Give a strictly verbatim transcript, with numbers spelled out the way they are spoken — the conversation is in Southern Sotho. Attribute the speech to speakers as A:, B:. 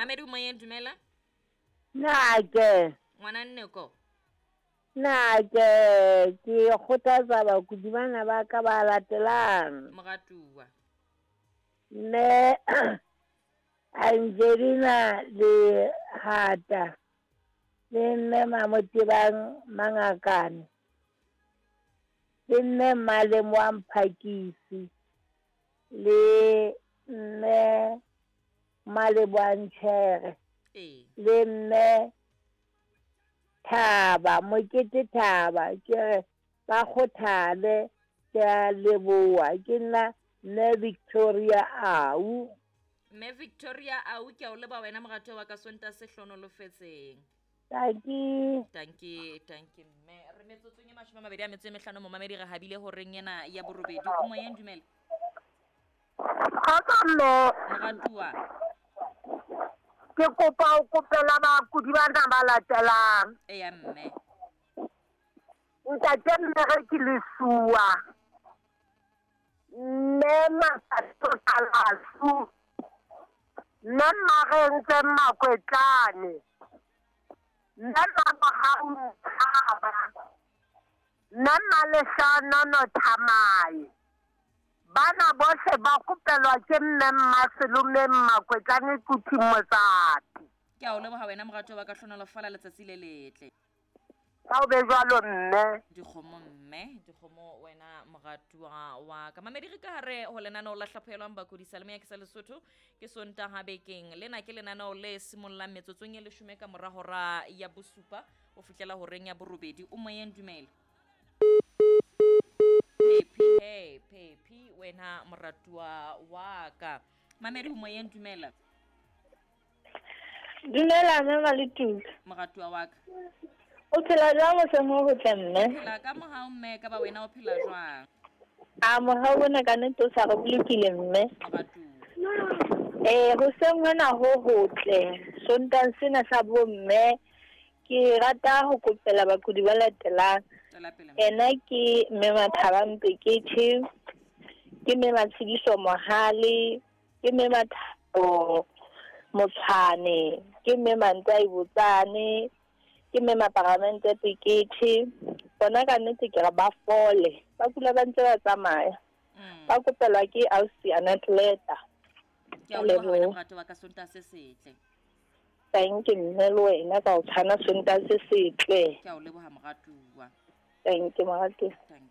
A: Mamedi moyeng, dumela.
B: Nake.
A: Ngwana Nneko.
B: Nake ke kgothatsa bakudi bana ba ka ba latelang.
A: Moratuwa.
B: Mme Angelina le Hata le mme Mamotebang Mangakane le mme Malemo wa Mphakisi le mme Malebo Nchere
A: Ee.
B: le mme Thaba Mokete Thaba, ke re ba kgothale, ke a leboha. Ke nna mme Victoria Au.
A: Mme Victoria Au, ke a o leboha wena moratuwa wa ka, Sontaha se hlonolofetseng.
B: Tanki.
A: Tanki, tanki mme. Re metsotsong e mashome a mabedi a metso e mehlano, momamedi, re habile horeng ena ya borobedi. O moyeng, dumela.
C: Kgotso mme.
A: Moratuwa.
C: Ke kopa ho kopela bakudi bana ba latelang.
A: Eya mme.
C: Ntate Mmereki Lesuwa, mme Masato Kalasu, mme Marentse Makwetlane, mme Mamohau Ntshaba, mme Maleshanono Thamae. Bana bohle ba kopelwa ke mme Mmaselome Makwetlane Kuthi Motsati.
A: Ke a o leboha wena moratuwa wa ka, hlonolofala letsatsi le letle.
C: Ka o be jwalo mme.
A: Dikgomo mme, dikgomo wena moratuwa wa ka. Mamedi, re ka hare ho lenaneo la Hlaphohelwang Bakudi Seyalemoya ke sa Lesotho, ke Sontaha bekeng. Lena ke lenaneo le simollang metsotsong e leshome ka mora hora ya bosupa ho fihlela horeng ya borobedi. O moyeng, dumela. Phephi, he, Phephi wena moratuwa wa ka. Mamedi ho moyeng, dumela.
D: Dumela mme Maletuka.
A: Moratuwa wa ka.
D: O phela jwang hoseng ho hotle mme?
A: Phela ka mohau mme, ka ba wena o phela jwang?
D: A mohau ona ka nnete o sa re bolokile mme.
A: Moratuwa.
D: Eh, hoseng hona ho hotle, Sontang sena sa bomme, ke rata ho kopela bakudi ba latelang.
A: Tswela pele mme.
D: Ena ke mme Mathaba Mpekethe, ke mme Matshidiso Mohale, ke mme Mathabo Motshwane, ke mme Mantai Botsane, ke mme Maparamente Pekethe. Bona ka nnete ke re ba fole, ba kula ba ntse ba tsamaya.
A: Mm.
D: Ba kopelwa ke ausi Anatleta.
A: Ke a o leboha wena moratuwa wa ka, Sontaha se setle.
D: Thank you mme le wena ka o tshwana Sontaha se setle.
A: Ke a o leboha moratuwa.
D: Thank you moratuwa.
A: Thank